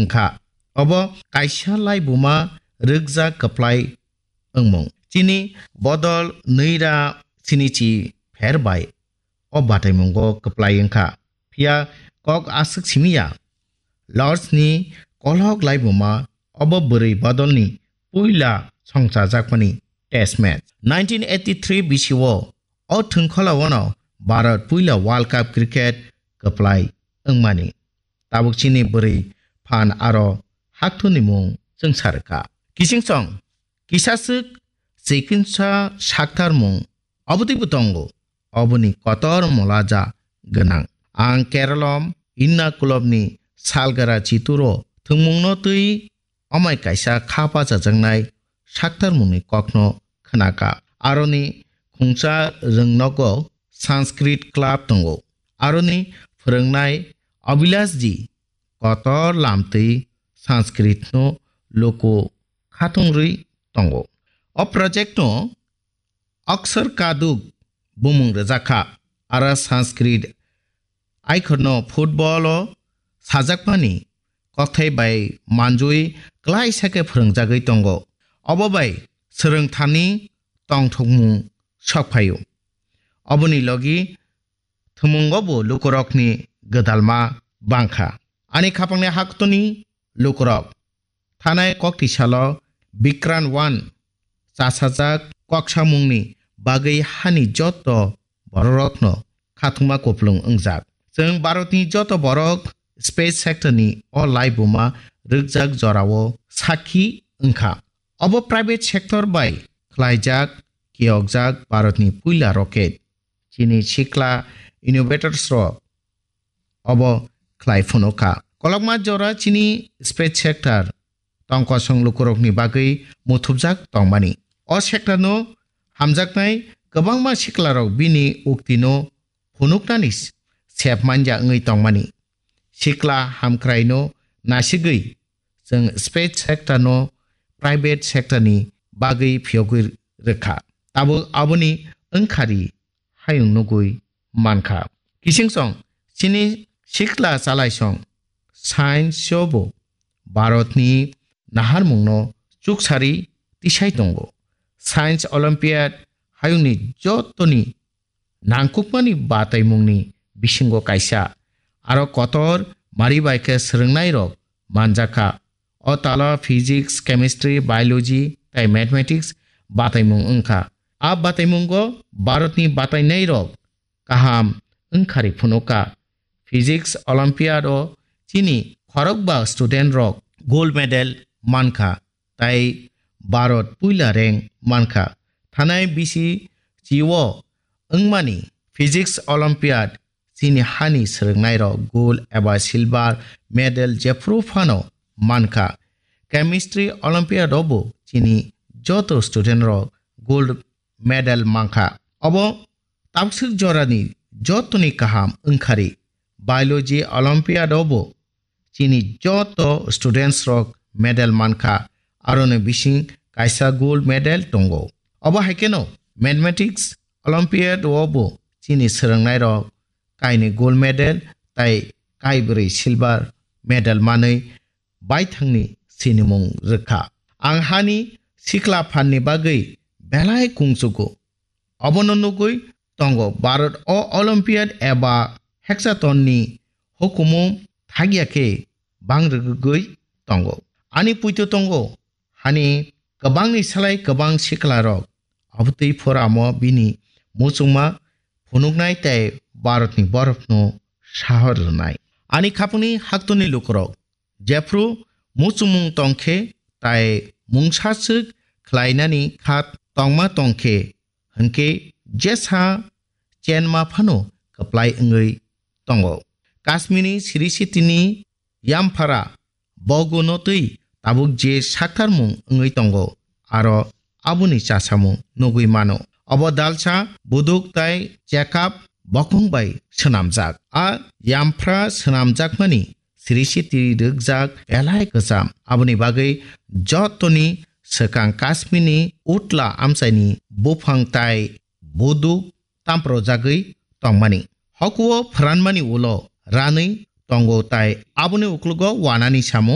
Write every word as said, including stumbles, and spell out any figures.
wngkha. Obo kaisa laibuma rwkjak kwplai wngmung. Chini bodol nwi ra sinichi pher bai o bataimungo kwplai wngkha. Phiya kok aswk simi ya. Lords ni kolok laibuma obo bwrwi bodolni puila songchajakmani test match. Nineteen eighty-three bisio o thwngkholaono Bharat puila World Cup cricket kwplai wngmani. Tabuk chini bwrwi phan aro hakthuni mung chwngsa rwkha. Kichingsong kisaswk chikinsa saktarmung obotwibo tongo. Oboni kotor molaja gwnang. Ang Keralom Innakulobni salgara chituro thwngmungno twi omai kaisa kha pachajaknai saktarmungni kokno khnaka. Aroni khungsa rwngnogo Sanskrit Club tongo. Aroni phwrwngnai Abhilash ji kotor lamtwi Sanskritno luku khatungrwi tongo. O projectno Aksar Kaduk bumung rwjakha. Ara Sanskrit aikhorno football o sajakmani kokthai bai manjui klaisa khe phwrwngjagwi tongo. Obo bai swrwngthani tongthokmung sokphaio. Oboni logi thwmungo bo lukurokni gwdalma bangkha. Ani khapangni haktoni lukurok thanai kokti salo Bikran one chasajak koksamungni bagwi hani joto bororokno khathungma kupulung wngjak. Chwng Bharatni joto borok space sectorni o laibuma rwkjak jorao sakhi wngkha. Obo private sector bai khlaijak, kiyokjak Bharatni puila rocket. Chini sikla innovators rok obo khlai phunukha. Kolokma jora chini space sector tongkosong lukurokni bagwi muthubjak tongmani. O sectorno hamjaknai kwbangma siklarok bini uktino phunuknani s-, sep manya wngwi tongmani. Sikla hamkraino nasigwi chwng space sectorno private sectorni bagwi phiyogwi rwkha. Tabuk aboni wngkhari hayung nugwi mankha. Kichingsong chini sikla chalaisong science o bo Bharatni naharmungno chuksari tisai tongo. Science Olympiad hayungni jotoni nangkukmani bataimungni bisingo kaisa. Aro kotor mari bai khe swrwngnairok manjakha. O talo physics, chemistry, biology tei mathematics bataimung wngkha. A bataimungo Bharatni batainairok kaham wngkhari phunukha. Physics Olympiad o chini khorokba student rok gold medal mankha, tai Bharat puila rank mankha. Thanai bisi chi o wngmani Physics Olympiad chini hani swrwngnairok gold eba silver medal jephru phano mankha. Chemistry Olympiad o bo chini joto student rok gold medal mankha. Obo tabswk jorani jotoni kaham wngkhari. Biology Olympiad o bo chini joto students rok medal mankha, aroni bising kaisa gold medal tongo. Obo hai kheno Mathematics Olympiad o bo chini swrwngnairok kainwi gold medal tai kaibrwi silver medal manwi baithangni sinimung rwkha. Ang hani sikla phanni bagwi belai kungchugo. Obono nugwi tongo Bharat o Olympiad eba hexathon ni hukumu thagya khe bang rwgwi tongo. Ani puito tongo hani kwbangni salai kwbang siklarok obotwi phoramo bini muchungma phunuknai tei Bharatni borokno sahor rwnai. Ani khapungni haktoni lukurok jephru muchungmung tongkhe tai mungsaswk khlainani khat tongma tongkhe hwnkhe jesa chenma phano kwplai wngwi tongo. Kashmirni Sri Sitini Yamphara boguno twi tabuk je saktarmung wngwi tongo, aro aboni chasamung nugwi mano. Obo dalsa buduk tai chekap bokong bai swnamjak. A yamphra swnamjakmani Sri Siti rwkjak belai kwcham. Aboni bagwi jotoni swkang Kashmirni utla amchaini buphang tai buduk tamprojagwi tongmani. Hokuo phwranmani ulo ranwi tongo tai aboni uklogo wanani samung